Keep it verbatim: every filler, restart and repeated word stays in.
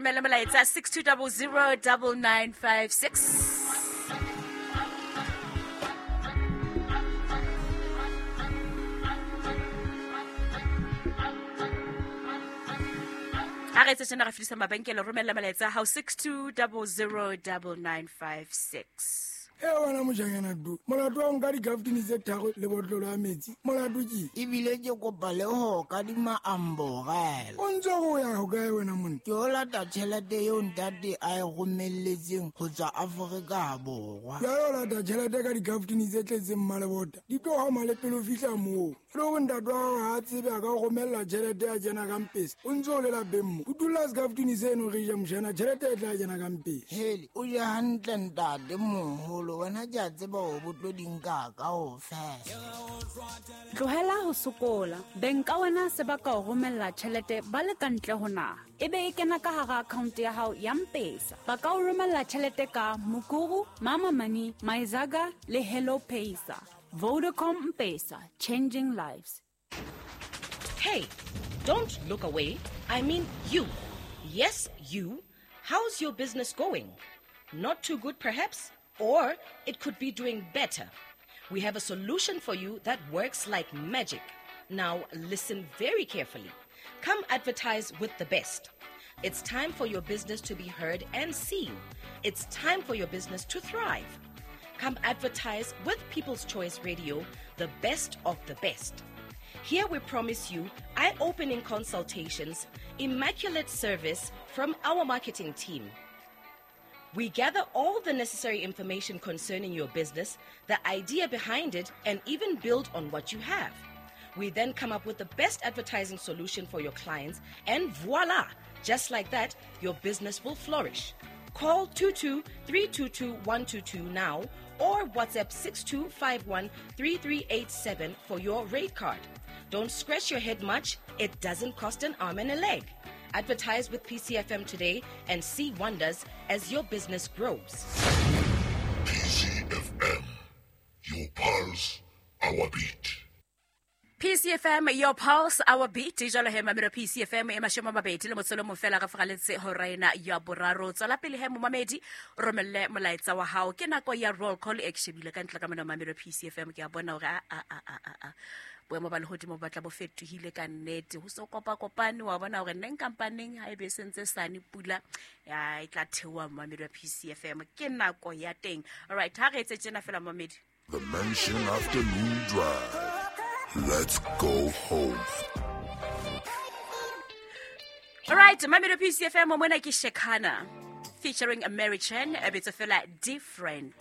Romela molaetsa six two double zero double nine five six. Ha re tsena re fedisa mabenkele, romela molaetsa hao six two double zero double nine five six. E wena mojanyana du molato wa nka dikaftini tse tharo le botlolo ya metsi molato ke ebile ke kopa le ho kadima amborela o ntse go ya ho kae wena monna ke o lata tjhelete eo ntate a e romelletseng ho tswa Afrika Borwa ya o lata tjhelete ka dikaftini tse tletseng mmalebota di tlo hama le pele o fihla moo le hore ntate wa hao ha a tsebe a ka o romella tjhelete ya kena ka mpesa o ntse o le lapeng mo o dula sekaftini seno re ja mojana tjhelete e tla kena ka mpesa hele o je hantle ntate moholo wena ke a tseba hore bo tlo di nka kaofela. Tlohela ho sokola. Beng ka wena se ba ka o romella tjhelete ba le ka ntle ho naha. Ebe e kena ka hara account ya hao ya M-Pesa. Ba ka o romella tjhelete ka Mukuru, Mama Money, Maizaga le Hello Pesa. Vodacom M-Pesa, changing lives. Hey, don't look away. I mean you. Yes, you. How's your business going? Not too good, perhaps? Or it could be doing better. We have a solution for you that works like magic. Now listen very carefully. Come advertise with the best. It's time for your business to be heard and seen. It's time for your business to thrive. Come advertise with People's Choice Radio, the best of the best. Here we promise you eye-opening consultations, immaculate service from our marketing team. We gather all the necessary information concerning your business, the idea behind it, and even build on what you have. We then come up with the best advertising solution for your clients, and voila! Just like that, your business will flourish. Call two two three two two one two two now or WhatsApp six two five one three three eight seven for your rate card. Don't scratch your head much. It doesn't cost an arm and a leg. Advertise with P C F M today and see wonders as your business grows. P C F M, your pulse, our beat. P C F M, your pulse, our beat. Jalo he mamelo P C F M e mashome a mabedi le motsolo mo fela re fraletse hora ena ya boraro. Tswela pele he momamedi, romelle molaetsa wa hao. Ke nako ya roll call e ke shebile ka ntle ka mona mamelo P C F M, ke a bona hore a a a a a boemo ba lehodimo ba tla bo fetohile ka nnete. Ho so kopa kopane wa bona hore neng kampaneng ha ebe sentse sane pula ya e tla theoha mamelo P C F M. Ke nako ya teng. All right, ha re etse tjena fela mamedi. The Mansion Afternoon Drive. Let's go home. All right, Mamelo P C F M mona ke Shekana featuring Mary Chen, a bit of fela different.